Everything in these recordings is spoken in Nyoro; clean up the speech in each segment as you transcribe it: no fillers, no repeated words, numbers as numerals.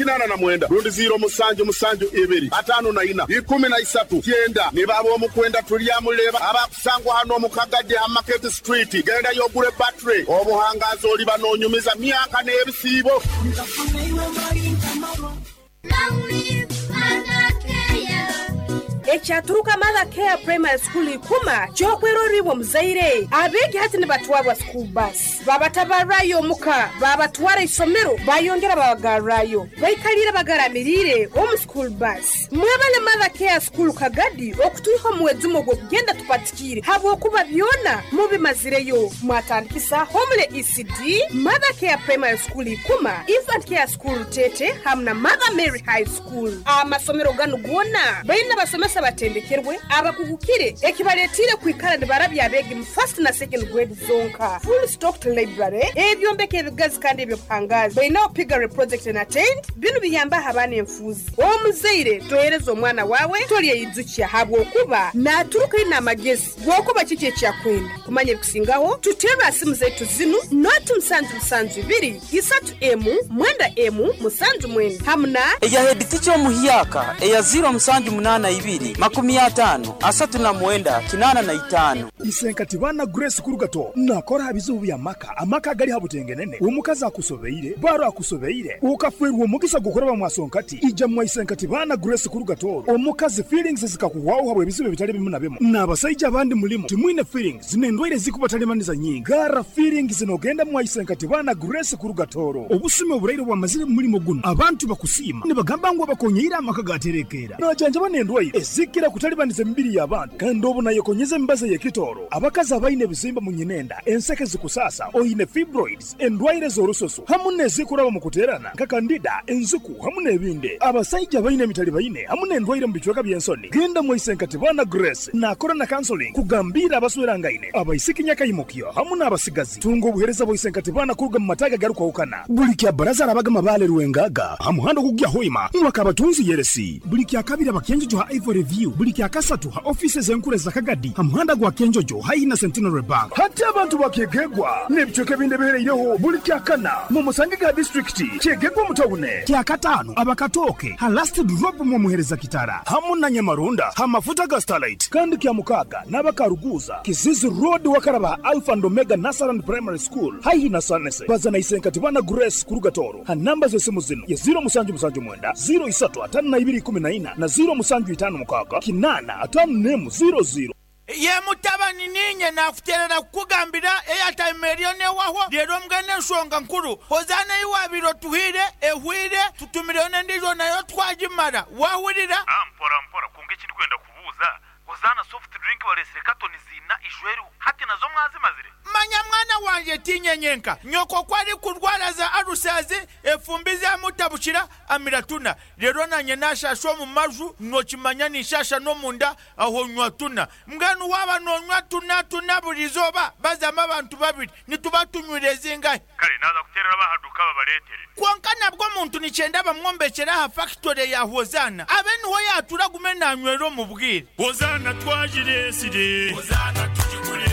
89 rundi 077 54 13 90. Nibaba omukwenda tulyamuleba abakusangwa hano omukagadde ha Market Street. Genda yogure battery obuhangazi oliba n'onyumiza myaka n'ebisiibo. Ekyaturuka Mother Care Primary School ikuma kyokweroribwa omuzaire. Abeegi hati nibatwarwa school bus, babatabarrayo omuka, babatwara isomero, bayongera babagarrayo, baikalire bagaramiriire omu school bus. Mwebale Mother Care School Kagadi okutwiha omuwezimu ogw'okugenda tupatikiire, habwokuba byona mubimazireyo. Mwatandikisa Homely ECD, Mother Care Primary School ikuma, Infant Care School Tete hamu na Mother Mary High School. Amasomero ganu goona baine abasomesa batendekerwe abakugukire ekibaletiire kwikara nibarabya abeegi mu first na second grade zonka. Full stocked library, ebyombeko ebigazi kandi ebyobuhangazi. Bainaho piggery project na tent, binu biyambaho abaana enfuuzi. Omuzaire tohereza omwana wawe tolyeyijukya habwokuba naturuka aine amagezi gwokuba kiki ekyakwenda. Kumanya ebikusingaho tuterra simu zaitu zinu noti 772 3 M 9 M 79 hamu na eya head omuhyaka eya 0782 50 39 85. Isenkati bana Grace Kurugato nakora bizibu bya maka amaka gali habutengenene omukazi akusobeire baro akusobeire ukafwerwa omugisa gukoraba mwasonkati ija mwa Isenkati bana Grace Kurugato omukazi feelings zikakuwaho habwe ebizibu bitali bimu na bimu n'abasajja abandi mulimu timwine feelings n'endwaire zikubatalemaniza nyingi gara feelings nogenda mwa Isenkati bana Grace Kurugatoro obusime oburaire bwamazire mu mulimo guno abantu bakusiima nibagamba ngu abakonyeire amaka gaterekera najanjaba n'endwaire ezikira kutalibaniza emibiri y'abantu kandi obu nayekonyeza emibazi y'ekitoro abakazi abaine ebizimba mu nyinenda enseke zikusasa oine fibroids endwaire z'orususu hamu n'ezikuraba mu kuterana nka kandida enziku hamu n'ebindi. Abasajja baine emitali baine hamu n'endwaire mu bicweka by'ensoni genda mu Isenkati bana Grace nakora na counseling kugambira abaswerangaine abaisiki nyakaimukyo hamu n'abasigazi. Tunga obuhereza bwa Isenkati bana kuruga mu mataga garukwahukana buli kya baraza arabaga mabale rwengaga ha muhanda ogugya hoima mwaka abatunzi yeresi buli kya kabiri abakenjojo ha Ivory View buli kya kasatu ha offices enkuru za Kagadi ha muhanda gwa Kenjojo haina Centenary Bank. Hati abantu bakegegwa n'ebicweka ebindi ebihereireho buli kya kana mu musange ga district kyegegwa mutawune kya katano abakatoke ha last drop mu muhereza kitara hamu na Nyamarunda ha mafuta ga Starlight kandi kya mukaga n'abakaruguza Kizizi Road wakaraba Alpha and Omega Nasaran Primary School haihi na Sanese bazana Isenkati bana Grace Kurugatoro ha namba z'esimu zino ya 0779 03 52 14 na 0756 8 5 00. Ye mutabani ninye nakuterera kukugambira eyatime eriyo newaho rero mbwene enshonga nkuru Hozaana iwabiro tuhire ehwire tutumireyo n'endiijo nayo twagimara wahurira. Mpora mpora kunga ekindi kwenda kubuuza Hozaana soft drink baresire katoni zina ishweru hati nazo mwazimazire. Manya mwana wanje tinyenyenka nyoko kwari kurwara za arusazi efumbi zamutabukira amiratuna rero nanye nashasha omu maju nokimanya nishasha n'omunda aho nywa tuna mbwenu waba nonywa tuna tuna buri izooba bazamu abantu babiri nituba tunywire zingahe. Kare naza kuterera bahaduka babaretere. Kwonka nabwo omuntu nikyenda bamwombekera aha factory ya Hozaana abe niho yatura gume nanywera omu bwire. Hozaana twagiresire Hozaana tugigure.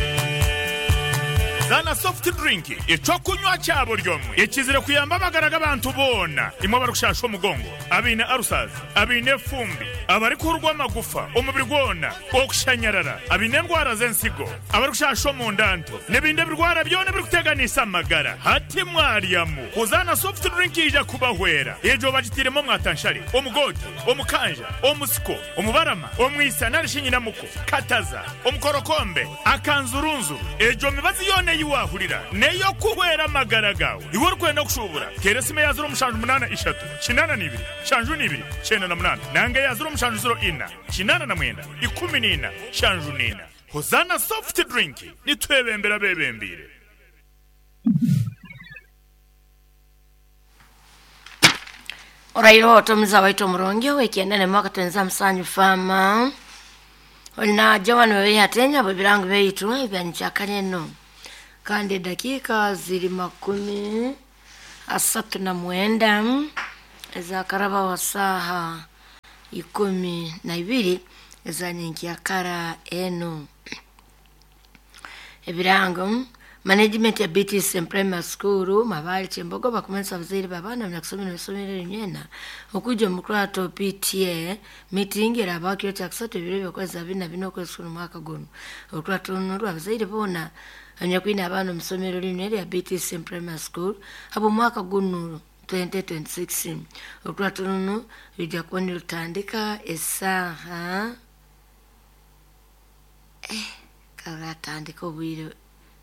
Zana soft drink ekyokunywa kya buri omwe ekizire kuyamba amagara g'abantu boona imwe abarikushasha omugongo abaine arusazi abaine efumbi abarikuhurwa amagufa omubiri gwona okushanyarara abaine endwara z'ensigo abarikushasha omundanto n'ebindi ebirwara byona ebirikuteganisa amagara hati mwaryamu Hozaana soft drink ija kubahwera egyo bagitiremu omwatanshare omugote omukanja omusiko omubarama omwisa narishi nyinamuko kataza omukorokombe akanzurunzuru egyo mibazi yoona ei wahurira n'ey'okuhwera amagara gawe. Iwe orikwenda kushubura teera esimu eya 0783 82 72 98 nanga eya 0704 89 14 74. Hozaana soft drink nitwebembera abebembiire. Oraire ota omuza waitu omurungi ow'ekyenda n'emwaka twenza musanju fama oli na Joan Weweyi Atenya bwe birango byaitu ebya eno kandi edakiika ziri 39 ezakaraba wa saaha 12 ezanyenkyakara eno. Ebirango Management ya BTC Primary School Mabali Chembogo bakumanisa abazaire b'abaana banyakusomera ebisomero ebinywena okwija omu kurato PTA meeting eraba kiro kyakusatu ebiro by'okwezi 24 okwezi kuno mwaka guno. Orukurato runo rw'abazaire boona abanyakwine abaana omu isomero linu erya BTC Primary School habw'omwaka guno 2026. Orukurato runo rwijja kuba nirutandika esaaha karatandika obwire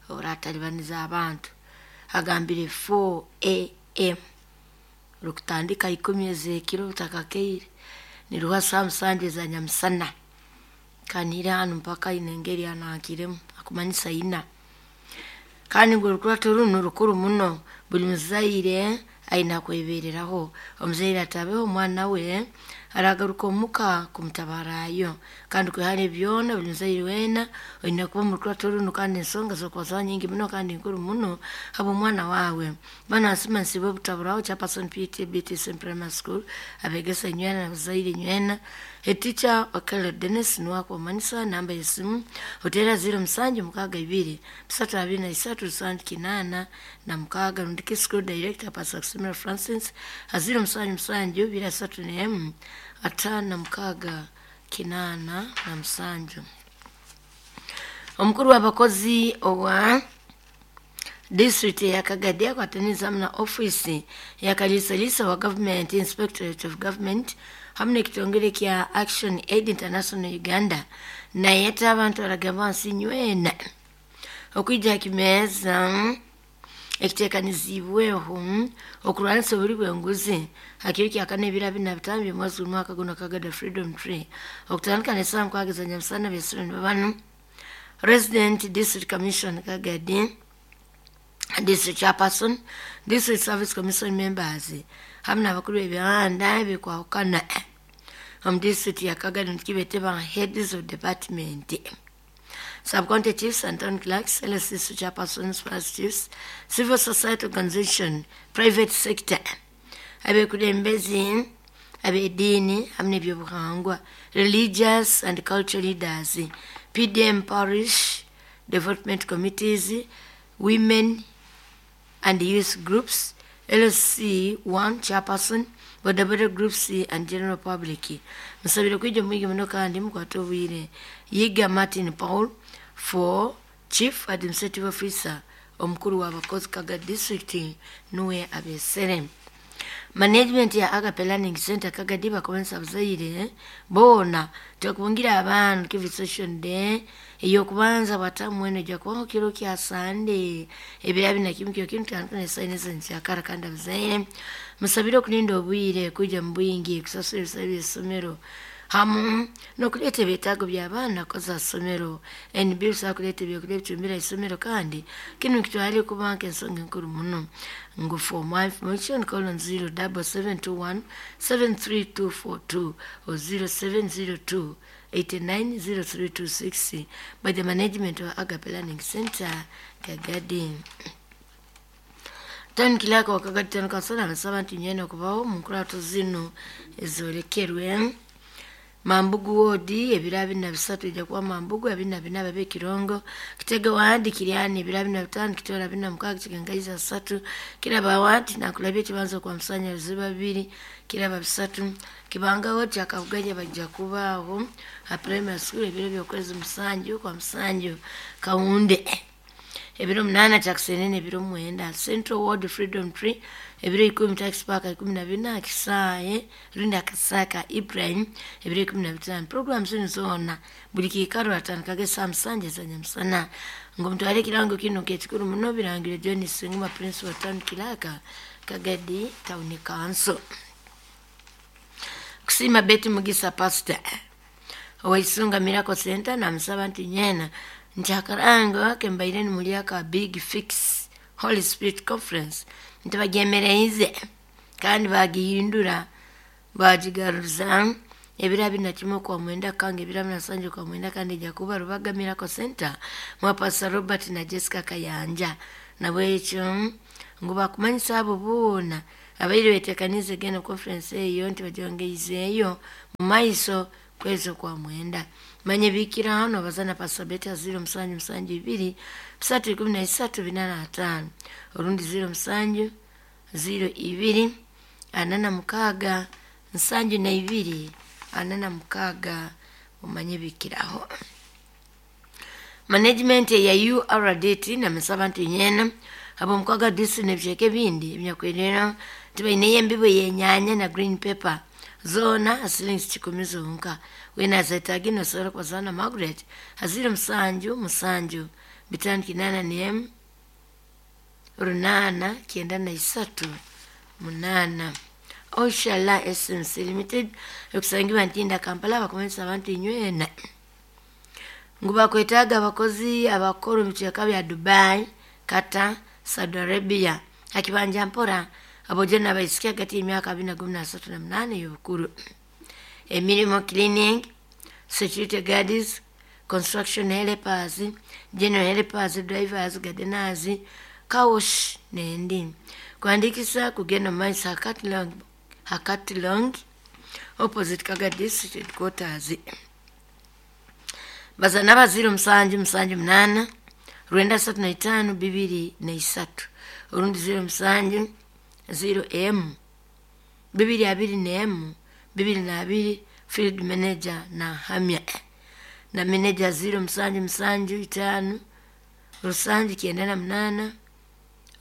oburatalibaniriza abantu agambire 4 am rukutandika 10 ez'ekiro butakakeire niruha saa 7 eza nyamusana kanire hanu mpaka ine engeri anankiremu akumanyisa ina. Kandi ngu orukurato runo rukuru muno, buli muzaire aina kwebereraho. Omuzaire atabeho omwana we aragaruka omuka kumutabarayo. Kandi kwihara byona buli muzaire weena oine kuba omu rukurato runo, kandi ensonga z'okubazaho nyingi muno kandi nkuru muno habw'omwana waawe. Bana nsima nsibe obutaburaho chairperson PTA BTC Primary School abegesa inywena n'abazaire inywena. Head teacher Okello Dennis niwe akubamanisa namba y'esimu oteera 0762 323 786 rundi school director Pastor Kusimira Francis 077 231 56 87. Omukuru w'abakozi owa district ya Kagadi akwataniza hamwe na ofisi ya Kalisalisa wa Government Inspectorate of Government hamwe n'ekitongole kya Action Aid International Uganda nayeta abantu baragamba nsi nywena okwija kimeeza ekitekanizibweho okurwanisa obuli bw'enguzi hakiro kyakana ebiro 45 by'omwezi gw'omwaka guno Kagadi Freedom Tree okutandika n'esaaha 6 za nyamusana besiro banu Resident District Commission Kagadi District Chairperson, District Service Commission members hamwe n'abakuru b'ebihanda ebikwahukana omu district ya Kagadi nikibete ba heads of department, sub-county chiefs and town clerks, LSC chairpersons, parish chiefs, civil society organization, private sector, abekulembezi ab'eddiini hamwe n'ebyobuhangwa, religious and cultural leaders, PDM parish development committees, women and youth groups, LSC 1 chairperson, bodaboda groups and general public. Musabire kwija mwigi muno kandi mukwate obwire. Yiga Martin Paul for Chief Administrative Officer omukuru w'abakozi Kagadi District nuwe abesere. Management ya Agape Learning Center Kagadi bakomensa abazaire boona tekubungira abantu kivi session day eyokubanza bwatamwene ejja kubaho kiro kya Sunday ebiro 21 kyo kintu tandika n'esayineza nkyakara. Kandi abazaire musabire okulinda obwire kujja mu bwingi kusasula ebisale by'essomero hamu n'okuleeta ebyetaago by'abaana kukoza ssomero NB busobola kuleeta ebyokulya ebitumbira isomero. Kandi kinu nikitwale kuba nk'ensonga enkuru muno ngu for more information call on 07721 73242 or 0702 890326 by the management of Agape Learning Center Kagadi. Town clerk wa Kagadi Town Council abasaba nti nywena okubaho mu nkurato zino ezolekerwe Mambugu wodi ebiro 23 ijja kuba Mambugu 24 babe Kirongo Kitege wadi Kiriani ebiro 25 Kitora 46 Kigangaiza 3 Kiraba wadi nakulabye ekibanza kwa musanya biziba 2 Kiraba 3 Kibanga wodi akavuganya bajja kubaaho ha primary school ebiro by'okwezi 7 kwa 7 Kaunde ebiro 8 kyakusenene ebiro 9 Central Ward Freedom Tree ebiro 10 Tax Park 14 Kisaye Rinda Kasaka Ibrahim ebiro 15. Program zino zona buli kiikaro atandikaga saa 7 za nyamusana ngo mutwale kirango kino kekikuru muno birangire John Singuma Principal Town Clerk Kagadi Town Council. Kusima Betty Mugisa Pastor Owaisunga Miracle Center namusaba nti nyena nkyakarango kembaire nimulyaka Big Fix Holy Spirit Conference nti bagyemereize kandi bagihindura bagigaruza ebiro 21 kwa 9 kange ebiro 27 kwa 9 kandi ejja kuba Rubaga Miracle Center mwa Pastor Robert na Jessica Kayanja. Nabwekyo ngu bakumanyisa abo boona abaire betekanize genda conference eyo nti bagyongeizeeyo mu maiso Kwezi okwa mwenda. Manye bikira hano bazana pasabeta 0772 313 45 orundi 07 02 46 72 46 umanye bikiraho. Management ya URDT na misabantu nyena abo mukwaga disi nebyeke bindi ebyakwirira tibaine yembibo yenyanya na green pepper zona asilingi 10 zonka wena zetagino sora kwa zana Margaret hazira 7 7 5 8 8 93 8. Oshala SMC Limited ekusangiwa Ntinda Kampala bakomesa abantu inywena nguba kwetaga abakozi abakora omu bya Dubai, Qatar, Saudi Arabia akibanja mpora abojena abaisikia hagati y'emyaka 23 na 8 y'obukuru. Emirimu cleaning, security guards, construction helpers, general helpers, drivers, gardeners, car wash n'endi. Kuandikisa kugenda mu maiso Hakati Long opposite Kaga District Headquarters. Bazana ba 07 7 8 935 23 urundi 07 0M 22 M 22 field manager na hamya na manager 07 7 5 rusangi 98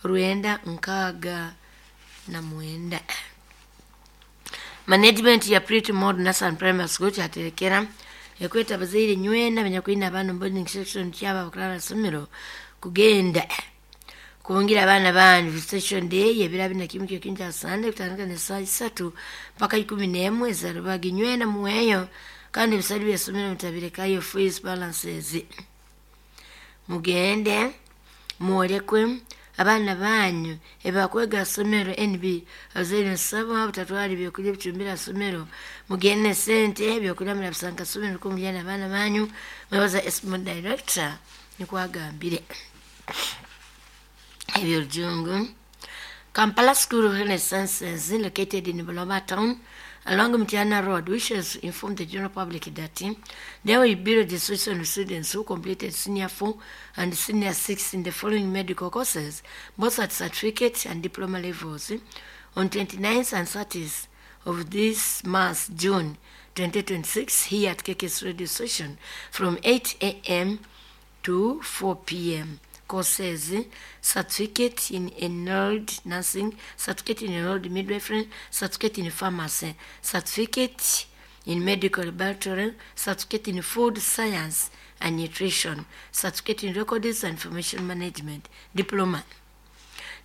9 69. Management ya Pretty Modern National Primary School kyaterekera ekweta abazaire nywena benyakwina abaana boarding section kyaba bakulala somero kugenda kubungira abaana banyu visitation day ebiro abiri na kimu kyo kya Sunday kutandika ne saa 3 mpaka 11 ezarubagi nywena muweyo kandi ebisali by'essomero mutabirekayo fees balances. Mugende mwolekwe abaana banyu ebakwega somero NB abazaire nsaba butatwala ebyokulya bicumbira somero mugende sente ebyokulya murabisanga somero kumujyana abaana banyu mwebaza SM director nikwagambire ebyolujungu. Kampala School of Health Sciences located in Buloba town along Mtiana Road wishes to inform the general public that there will be registration of students who completed senior 4 and senior 6 in the following medical courses, both at certificate and diploma levels, on 29th and 30th of this month, June 2026, here at KKS Radio Station from 8 a.m. to 4 p.m. Courses: certificate in enrolled nursing, certificate in enrolled midwifery, certificate in pharmacy, certificate in medical laboratory, certificate in food science and nutrition, certificate in records and information management, diploma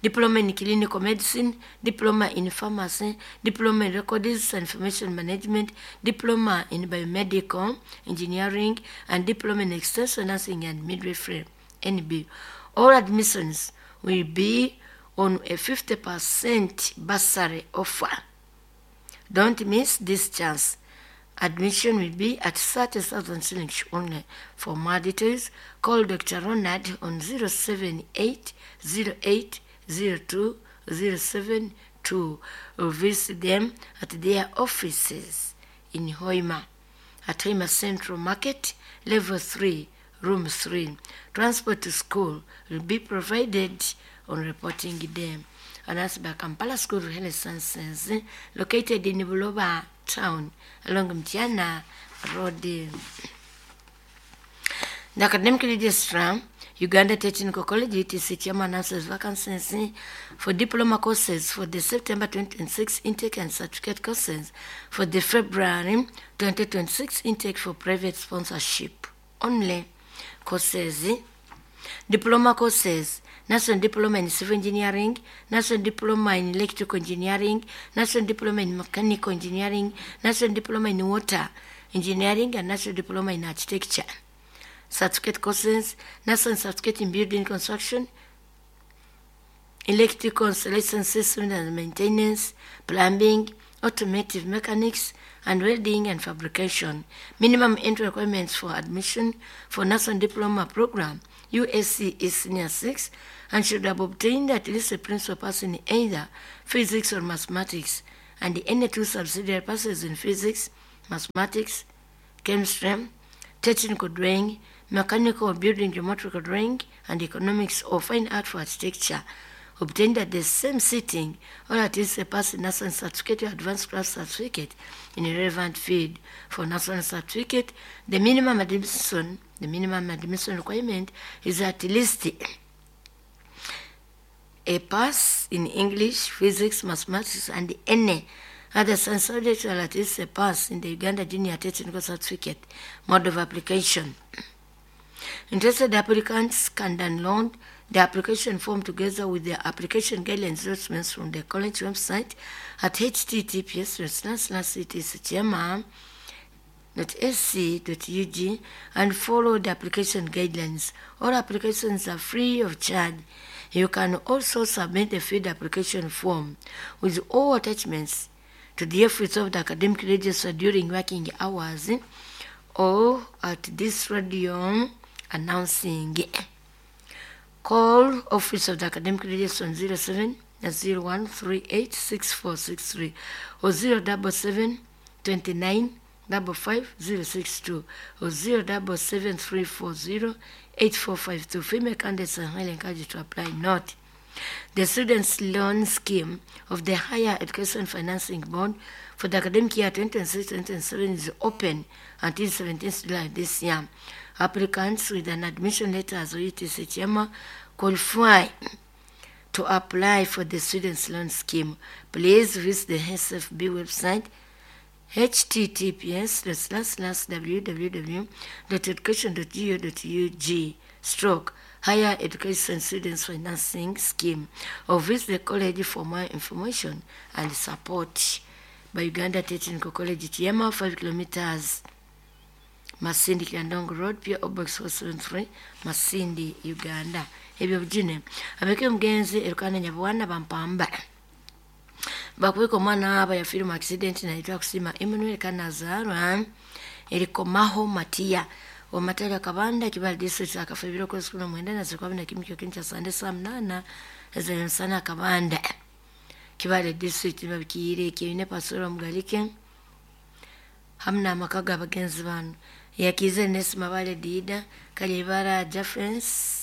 in clinical medicine, diploma in pharmacy, diploma in records and information management, diploma in biomedical engineering, and diploma in extension nursing and midwifery, NB. All admissions will be on a 50% bursary offer. Don't miss this chance. Admission will be at 30,000 shillings only. For more details, call Dr. Ronald on 078 08 02 072 or visit them at their offices in Hoima, at Hoima Central Market, Level 3, Room 3. Transport to school will be provided on reporting day. Announced by Kampala School of Health Sciences, located in Buloba town along Mtiana Road. The Academic Registrar, Uganda Technical College, UTC Chairman, announces vacancies for diploma courses for the September 2026 intake and certificate courses for the February 2026 intake for private sponsorship only. Courses: diploma courses, National Diploma in Civil Engineering, National Diploma in Electrical Engineering, National Diploma in Mechanical Engineering, National Diploma in Water Engineering, and National Diploma in Architecture. Certificate courses, National Certificate in Building Construction, Electrical Installation Systems and Maintenance, Plumbing, Automotive Mechanics, and Welding and Fabrication. Minimum entry requirements for admission for National Diploma Program, USC, is Senior 6 and should have obtained at least a principal pass in either physics or mathematics, and any two subsidiary passes in physics, mathematics, chemistry, technical drawing, mechanical or building geometrical drawing, and economics or fine art for architecture, obtained at the same sitting, or at least a pass in national certificate or advanced class certificate in a relevant field. For national certificate, the minimum admission requirement is at least a pass in English, physics, mathematics, and any other science subject, or at least a pass in the Uganda Junior Technical Certificate. Mode of application. Interested applicants can download the application form together with the application guidelines documents from the college website at https://ctchma.sc.ug and follow the application guidelines. All applications are free of charge. You can also submit the filled application form with all attachments to the office of the academic register during working hours or at this radio announcing. Call Office of the Academic Register on 07 0138 6463 or 077 29 55062 or 077 340 8452. Female candidates are highly encouraged to apply. Note, the Students' Loan Scheme of the Higher Education Financing Board for the academic year 2026-2027 is open until 17th July this year. Applicants with an admission letter as UTC Chema qualify to apply for the Students' Loan Scheme. Please visit the SFB website https://www.education.go.ug/ Higher Education Students Financing Scheme, or visit the college for more information and support. By Uganda Technical College, Kiama, 5 kilometers, Masindi Kiandongo Road, P.O. Box 473, Masindi, Uganda. Ebyo bujine abeke mugenzi erukana nyabwana bampamba bakuweka omwana aba yafiire mu accident naitwa kusima Emmanuel Kanazarwa erikomaho Matia omatala kabanda kibali district akafa ebiro kwezi kumi na mwenda na zikwabi na kimu kyo kincha sande saa 8 ez'emisana kabanda kibali district babikiire kiine pasoro mugalike hamna amaka g'abagenzi bano yakize Nesima Bale Dida Kalibara Jeffens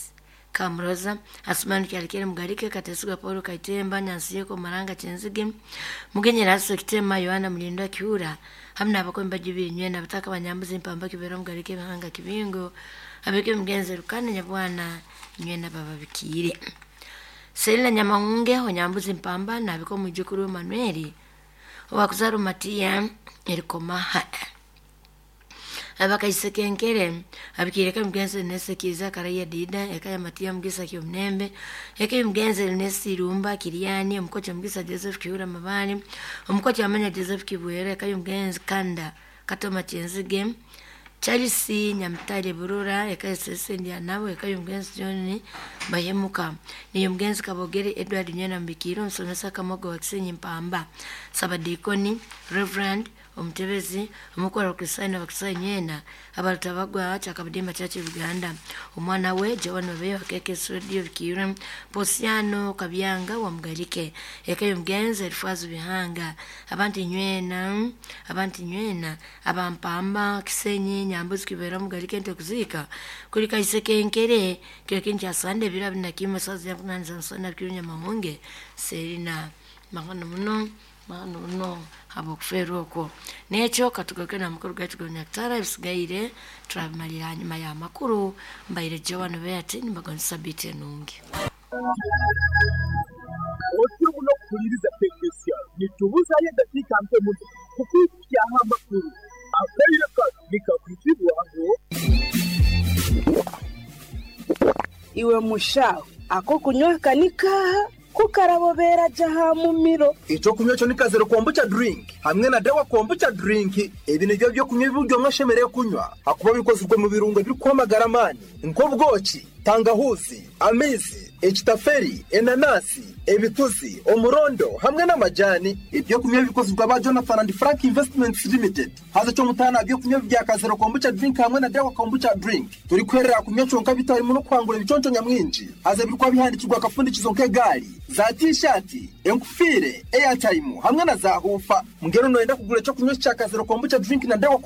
Kamroza Asmani Kyalikere Mugalike Katesuga Paulo Kaitemba Nyansiyeko Maranga Chenzige Mugenyera Aso Kitema Yohana Mulindwa Kiura hamna abakomba jubiri nywena bataka banyambuzi mpamba kibera Mugalike Bihanga Kibingo abeke mugenzi Rukana Nyabwana nywena baba bikire Selina Nyamahunge Onyambuzi mpamba na abiko mujukuru Manueli owakuzaru Matia erikomaha abakaisekenkere abikireka mugenzi nesekiza karaya dida ekaya Matia mugisa kyomnembe eke mugenzi nesirumba kiriani omukocha mugisa Joseph Kiura Mabani omukocha amanya Joseph Kibwere ekaya mugenzi Kanda Katoma Chenzige Charles Nyamtale Burura ekaya Sesendia nabo ekaya mugenzi John Bahemuka niyo mugenzi Kabogere Edward Nyana Mbikiro nsomesa Kamogo Wakisenyi Mpamba Sabadikoni Reverend omutebezi omukora okusaina bakusanyena abalutabagwa chakabudimba chachi Uganda omwana we Joan Obeyo akeke studio Bikira Posiano Kabyanga wa Mugalike ekayo mugenzi Elfazu Bihanga abantu nywena abampamba Kisenyi Nyambuzi Kibera Mugalike nte kuzika kulika isekenkere kyo sande bira binakima sazi ya kunanza nsana kirunya mahunge Selina mahano muno no habokufera okwo nekyo katugaruke na mukuru gaitu gonyakutara ebisigaire turabimalira hanyuma ya makuru mbaire Joan Beate nimbagonza sabiti enungi otyo muno kukuliriza tekinisiya nitubuzayo eddakiika mpe muno kukwikyaho amakuru akaire kano nikakwitibwaho iwe mushaho ako kunywa kanikaha kukarabobera jaha mumiro Icho kunywa cyo ni kazero kombucha drink hamwe na dawa kombucha drink. Ebi nibyo byo kunywa ibiryo mwashemereye kunywa hakuba bikozwe mu birungo biri kwamagara amani nk'ubwoki, tangahuzi, amizi, ekitaferi, enanasi, ebituzi, omurondo hamwe n'amajani. Ibyo kunywa bikozwe ba Jonathan and Frank Investments Limited. Haza cyo mutana byo kunywa bya kazero kombucha drink hamwe na dawa kombucha drink. Turi kwerera kunywa conka bitarimo no kwangura ibiconco nyamwinji. Haza birikwa bihandikirwa akafundikizo nk'egari za t-shirt, enkufire, airtime hamwe na za hufa. Mungero noenda kugura cyo kunywa cya kazero kombucha drink na dawa.